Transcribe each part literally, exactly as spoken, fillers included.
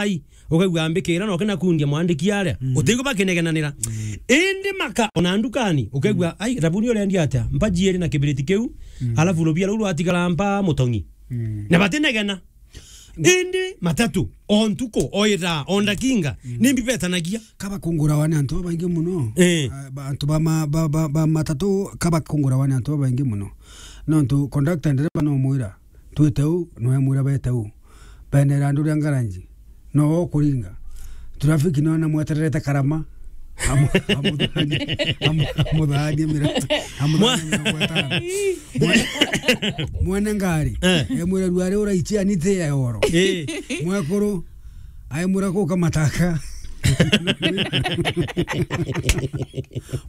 ai, ukaigua ambikira na ukina kundia mwandiki aria. Mm. Utigwa bakinegenanira. Mm. Indi maka ona ndukani, ukaigua, mm, "Ai, thabuni urendia atia? Mbaji iri na kibiriti kiu, mm, alafu rubia ruu rwatigara mba mutongi." Mm. Na batinegena. Indi matatu, o ntuku, o ithaa, o ndakinga, mm, ni mbibetanagia. Kaba kungurawa ni antu babaingi muno. Eh. Ah, ba-, antu ba ma-, ba, ba, ba matatu, kaba kungurawa ni antu babaingi muno. Nontu conductor ndereba no mwira, "Twite u," no emwira, "Bete u." Benera andu ria ngaranji. No ukuringa. Traffic no na mwetererete karama. Amu-, amuthanie, amu-, amuthanie mira-, amuthanie mirongo itano. Mwe-, mwene ngari. Eh. Emwira, "Ruari uraichia ni ti ya oro." Eh. Mwekuru, aimura kuka mataka.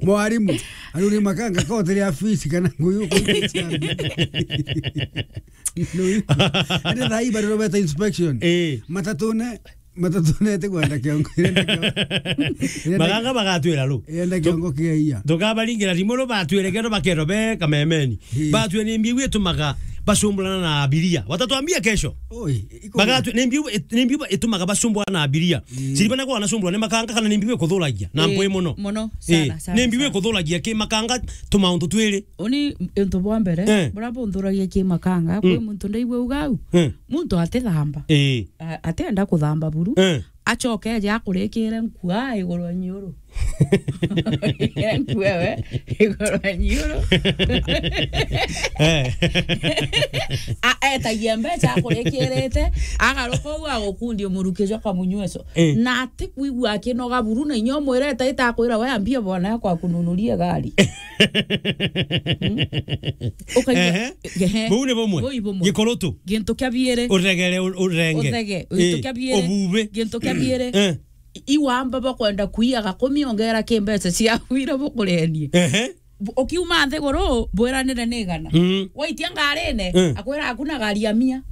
Mwarimu, aruri makanga kotiri afisi kana nguyu kuichia. Ende thai bari robeta inspection. Eh. Matatune, matatune ete kwenda kiongo, irenda kiongo. Irenda, maganga bagatwira ru. Irenda tu-, kiongo kia iya. Tukabaringira rimu ru batwire kero bakero be kamemeni. Ii. Batwire ni mbiu itumaga bacumburana na abiria. Watatwambia kesho. Oi, iko. Bagatwi-, ni mbiu it-, ni mbiu itumaga bacumburana na abiria. Ii. Siribana kwa anacumburana ni makanga kana ni mbiu ikuthuragia na, ii, mpwe muno. Muno, sana, ii, sana, ni mbiu sana. Ikuthuragia ki makanga tumaundu twiri. Uni untu bwa mbere, eh, buria bunthuragia ki makanga, kwi, mm, muntu ndaigua uga au. Eh. Muntu atithamba. Ii. A-, atienda kuthamba buru. Eh. Acoke eje akurikire nkua iguru wa nyiuru. Nkua we, iguru wa nyiuru. Eh. A-, etagia mbeca akurikirite, agaruka uu agukundia muruki jwa kamunyweso. Eh. Na ati kwigua akinoga buru, na inya umwirete itakwira we ambia bwana yako akununurie gari. Mm. Ukaigua, ehe, ehe. Buu ni bumwe. Buu ni bumwe. Gikurutu. Gintu kia biiri. Uregere, u-, urenge. Uthege. Gintu, ii, kia biiri. Ububi. Gintu kia biiri. Eh. I-, iwamba bakwenda kuia gakumi ongera ki mbeca ciaku iria bukurenie. Ehe. Bu-, ukiuma nthiguru, bwiranire ni igana. Mm. Waitia ngarine, eh, akwira, "Hakuna gari ya mia."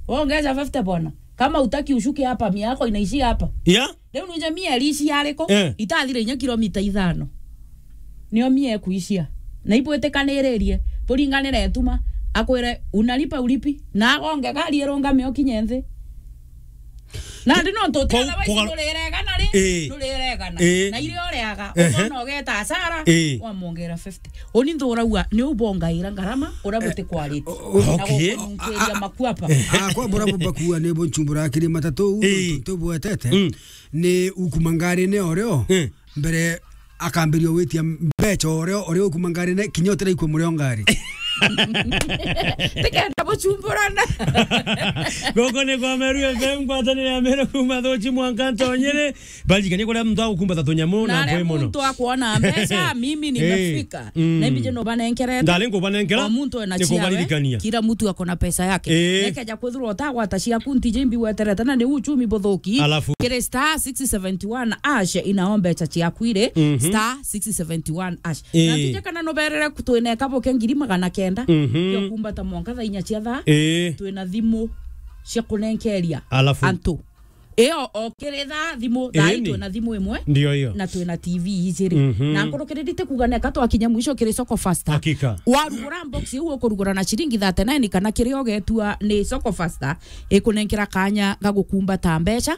Wongeza fifty bona. Kama utaki ushuke hapa, mia yako inaishia hapa. Yeah. Riu nuje mia iri cia ariku? Eh. Itathire inya kilomita ithano. Nio mia ikuishia. Na ibwitikaniririe, buringanire ituma, akwire, "Unalipa ulipi?" Na agonge gari irungame ukinye nthi. Nandi nontu uti, ko-, otherwise kuga-, nuriregana ri? Ii. Nuriregana. Ii. Na iria uriaga, ehe, ukona ugeta hasara, ii, wamwongera fifty. Uni nthuragua, ni ubongaira ngarama, uria, eh, butikwarite. O-, o-, na okay. Gukununkiria makuapa. Ah, kwa bura bubakua ni bunchumbura kiri matatu, ii, tu-, tubwetete. Mm. Ni ukuma ngarine orio, eh, mbere akambiria gwitia mbeca orio, orio ukuma ngarine, kinya utiraikua murio ngari. Tikenda buchumburana. Goko ni kwa Meru F M, ngwatanire ya Meru kuma Thuchi mwanka Ntonyere. Baririkanie kuria muntu agukumbata tunyamu na mpwe muno. Muntu akwona mbeca, mimi nimefika. Eh. Mm. Na imbije no banenkerete. Ndari nkubanenkera. O muntu ena ciawe. Nikubaririkania. Kila mtu ako na pesa yake. Eh. Nekeja kwithirwa utagwata ciaku ntiji mbi weterete na ni uchumi buthuki. Alafu. Kiri star six seventy one hash inao mbeca ciaku iri. Mhm. Star six seventy one hash. Eh. Na tuje kana no berere kutwineka boke ngiri magana kenda. Mhm. Yo kumbata mwanka thaa inya cia thaa. Eh. Twina thimu cia kunenkeria. Alafu. Antu. Io, o kiri thaa thimu, thaa ii. Eni. Twina thimu imwe. Ndio hiyo. Na twina T V ijiri. Mhm. Na nkurukiriri ti kuga neka twakinya mwisho kiri Soko Fasta. Hakika. Warugura box iu ukurugura na ciringi thirty nine kana kiria ugetua ni Soko Fasta, ikunenkera kanya ga gukumbata mbeca.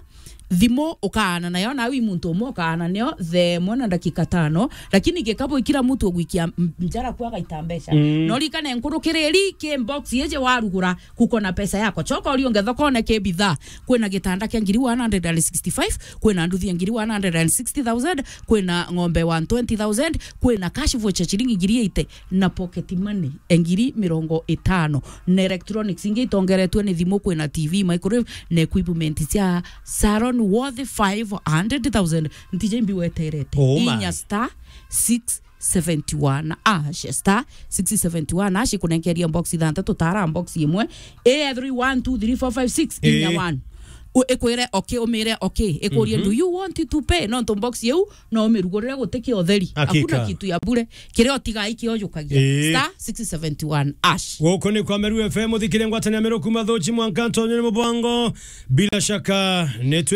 Thimu ukaana nayo, na wi muntu umwe ukaana nayo thaa imwe na ndagika tano, lakini gikabu ikira muntu ugwikia m-, njara kwa gaita mbeca. Mm. No rikane nkurukiriri ki box iji warugura, kuko na pesa yako. Choka urio nge thokone ki bidhaa. Kwina gitanda kia ngiri one hundred and sixty-five, kwina nduthi ya ngiri one hundred and sixty thousand, kwina ng'ombe one twenty thousand, kwina cash voucher chiringi ngiri eighty, na pocket money ya ngiri mirongo itano. Na electronics ingi itongeretwe ni thimu, kwina T V, microwave, na equipment cia salon worth five hundred thousand. Ntije mbi weterete. Oh my. Inya star six seventy one hash, star six seventy one hash, ikunenkeria box ithantatu, tara box imwe, A three one two three four five six, inya one. U-, ikwire okay, umire okay, ikurie, mhm, "Do you want to pay?" Nontu box iu no umirugurire gutiki utheri. Hakika. Hakuna kitu ya bure. Kiria utiga ikiojukagia. Ii. Star six seventy one hash. Guku ni kwa Meru F M, uthikire ngwatanio ya Meru kuma Thuchi mwanka Ntonyere Mubongo. Bila shaka, netwe